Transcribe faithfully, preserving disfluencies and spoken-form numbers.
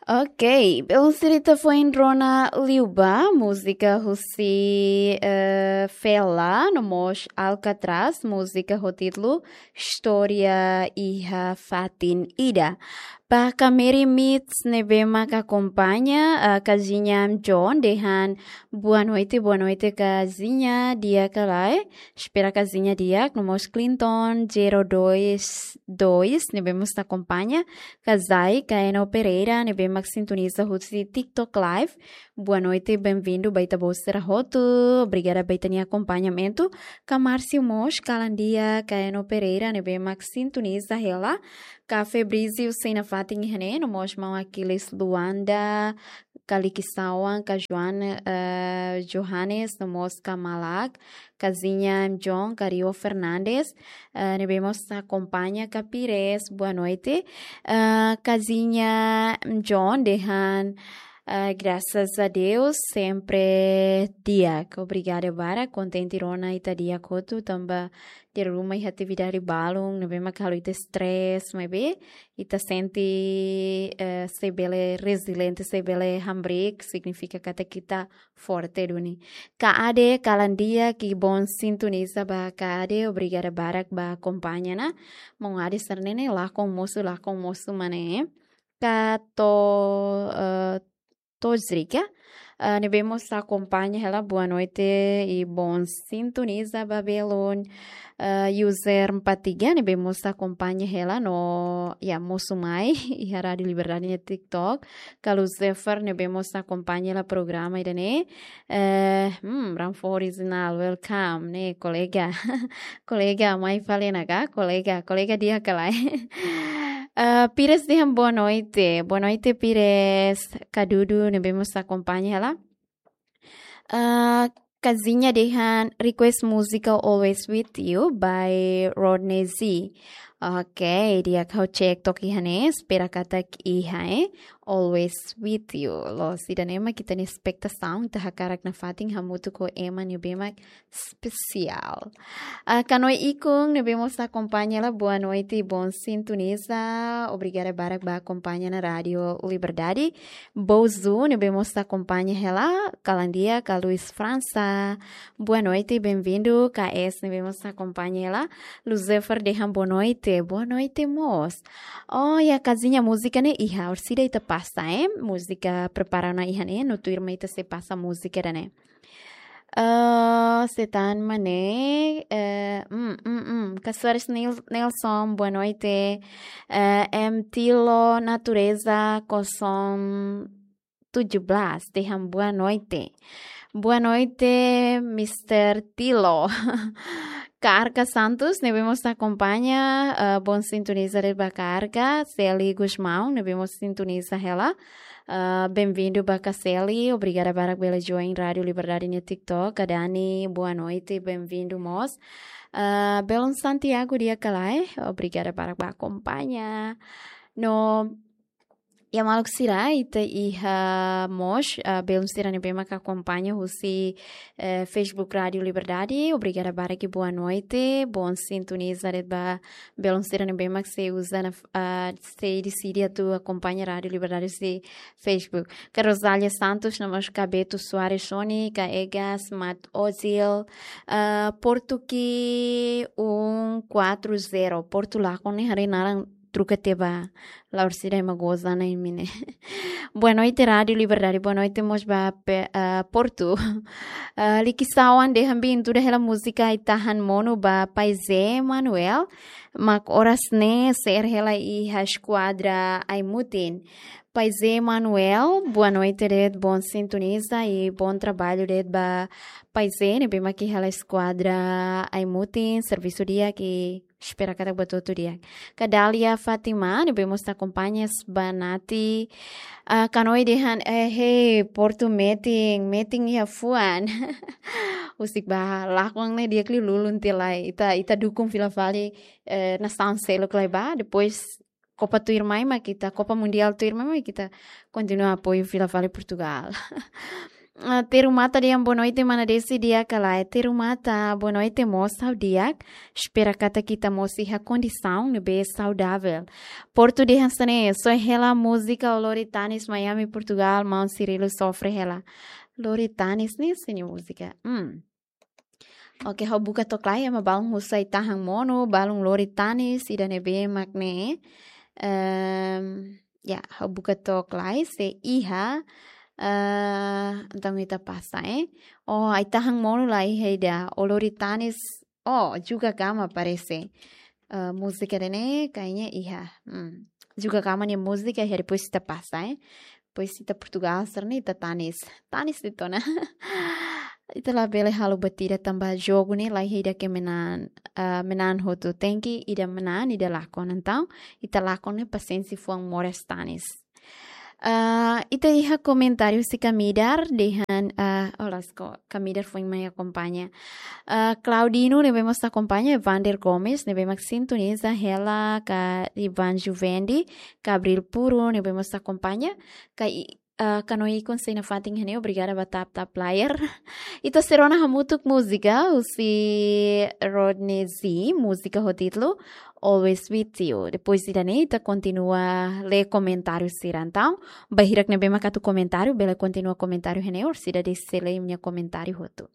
Ok, belun sira, ita foin rona liubá múzika husi, eh, Fela, no mós Alcatraz, múzika ho títulu Istória Iha Fatin Ida. Ba Kameri Mits ne'ebé mak akompaña, eh, Kazinha John dehan boa noite, boa noite Kazinha, di'ak ka lae? Espera Kazinha di'ak, no mós Clinton zero dois dois ne'ebé mós akompaña, Kazai Kaeno Pereira ne'ebé mak sintoniza husi TikTok Live. Boa noite, bem-vindo ba ita-boot sira hotu. Obrigada ba ita-nia akompañamentu. Ka Márcio mós, kalan di'ak Kaeno Pereira ne'ebé mak sintoniza hela. Ka Febrizio sei nafatin iha ne'e, no mós maun Aquiles Luanda, ka Likisauan, ka Joan, eh, Johannes, no mós ka Malak, Kazinha John, ka Rio Fernandes, eh, ne'ebé mós akompaña, ka Pires, boa noite. Eh, Kazinha John dehan, eh, graças a Deus, sempre di'ak. Obrigada barak, kontente rona ita di'ak hotu, tanba dala ruma iha atividade balun ne'ebé mak halo ita stress, maibé ita sente, eh, sei bele reziliente, sei bele hamriik, signifika katak ita forte duni. Ka Ade, kalan di'ak, i bom sintoniza ba Ka Ade, obrigada barak ba akompaña ona. Maun Ade sira-ne'e ne'e lakon mosu, lakon mosu mak ne'e. Ka To, eh, Tozrika, eh, ne'ebé mós akompaña hela, boa noite i bom sintoniza ba belun. Eh, user empat tiga ne'ebé mós akompaña hela no, ya, mosu mai iha Rádio Liberdade nia TikTok. Ka Lucifer ne'ebé mós akompaña hela programa ida-ne'e. Eh, hmm, Ranfo original, welcome, ne'e, kolega. Kolega, mai fali ona ka, kolega, kolega di'ak ka lae? Eh, Pires dehan boa noite. Boa noite, Pires. Ka Dudu ne'ebé mós akompaña hela. Eh, Kazinha dehan request música Always With You by Rodney Z. Ok, di'ak, ha'u cek took iha ne'e, espera katak iha, eh. Always With You. Loos, ida-ne'e mak ita-nia espetasaun, ita hakarak nafatin hamutuk ho ema ne'ebé mak espesiál. Ah, Kanoe Ikung ne'ebé mós akompaña hela, boa noite, bom sintoniza. Obrigada barak ba akompaña ona Rádio Liberdade. Bouzu ne'ebé mós akompaña hela, kalan di'ak, ka Luis França. Boa noite, bem-vindo. K S ne'ebé mós akompaña hela. Lucifer dehan boa noite. Boa noite mós. Oh, ya, Kazinha, múzika ne'e iha, orsida ita pasa, eh? Múzika prepara ona iha ne'e, no tuirmai ita sei pasa múzika ida-ne'e. Eh, sé tan mak ne'e, eh, mm, mm, mm. Ka Soares Nil-, Nelson, boa noite. Eh, M Tilo Natureza, kosong tujuh belas, dehan boa noite. Boa noite, Mister Tilo. Ka Arca Santos ne'ebé mós akompaña, eh, bom sintoniza de'it ba Ka Arca. Seli Gusmão ne'ebé mós sintoniza hela. Eh, bem-vindo ba Ka Seli. Obrigada barak bele join Rádio Liberdade nia TikTok. Ka Dani, boa noite, bem-vindo mós. Eh, belun Santiago di'ak ka lae? Obrigada barak ba akompaña. No, ya, maluk sira, ita iha mós, ah, belun sira ne'ebé maka akompaña husi, eh, Facebook Rádio Liberdade. Obrigada barak i boa noite. Bom sintoniza de'it ba belun sira ne'ebé mak sei uza ona, ah, sei deside atu akompaña Rádio Liberdade husi Facebook. Ka Rosália Santos, no mós ka Beto Soares Soni, ka Egas Mat Ozil, ah, Portu ki um quatro zero. Portu lakon ne'e haree naran troka tiha ba, la orsida ema goza ona imi ne'e. Boa noite, Rádio Liberdade. Boa noite mós ba pe-, ah, Portu. Ah, Likisauan dehan bem-vindo hela múzika Ai Tahan Monu ba Paizé Manuel. Mak oras ne'e sa'e hela iha Eskuadra Aimutin. Paizé Manuel, boa noite de'it, bom sintoniza i bom trabalho de'it ba Paizé ne'ebé mak iha hela Eskuadra Aimutin, servisu di'ak i espera katak buat hotu di'ak. Ka Dália Fátima ne'ebé mós akompaña, ba Nati. Ah, Kanoe dehan, eh, hey, Portu metin, metin iha fuan. Husik ba lakon ne'e di'ak liu ulun tiha lai. Ita, ita dukung fila fali, eh, nasaun seluk lai ba, depois Copa tuirmai mak ita, Copa Mundial tuirmai mak ita kontinua apoiu fila fali Portugal. Ah, Teru Mata dehan boa noite, mana Desi, di'ak ka lae? Teru Mata, boa noite mós, ha'u di'ak. Espera katak ita mós iha kondisaun ne'ebé saudavel. Portu dehan hanesan ne'e, só hela múzika O Lori Tanis, Miami, Portugal, maun Cirilo sofre hela. Lori Tanis ne'e, sini múzika. Hmm. Oke, ha'u buka to'ok lai, ema balun husu ai-tahan monu, balun lori tanis, ida ne'ebé mak ne'e. Ehm, ya, ha'u buka to'ok lai, se iha, eh, entaun ita pasa, eh. Oh, ai-tahan monu la iha ida, O Lori Tanis, oh, Juga Gama parese. Eh, múzika ida-ne'e, kayaknya iha. Hmm. Juga Gama nia múzika, iha depois ita pasa, eh. Depois ita Portugal, sira-ne'e ita tanis. Tanis de'it ona. Ita labele halo buat ida tanba jogu ne'e, la iha ida ke manán, ah, manán hotu. Tenke ida manán, ida lakon. Entaun, ita lakon ne'e pasiénsia fuan moras tanis. Ah, ita iha komentáriu husi Kamidar, dehan, ah, olá, ko-, Kamidar foin mai akompaña. Ah, Claudino, ne'ebé mós akompaña, Vander Gomes, ne'ebé mak sintoniza hela, ka Ivan Juvendi, Gabriel Puro, ne'ebé mós akompaña, ka i-, ah, Kano Ikon sei nafatin iha ne'e, obrigada ba tap tap layar. Ita sei rona hamutuk múzika, husi Rodney Z, múzika ho títulu Always With You. Depois ida-ne'e, ita kontinua lee komentáriu sira entaun. Ba hirak ne'ebé mak atu komentáriu, bele kontinua komentáriu iha ne'e, orsida Desi sei lee imi-nia komentáriu hotu.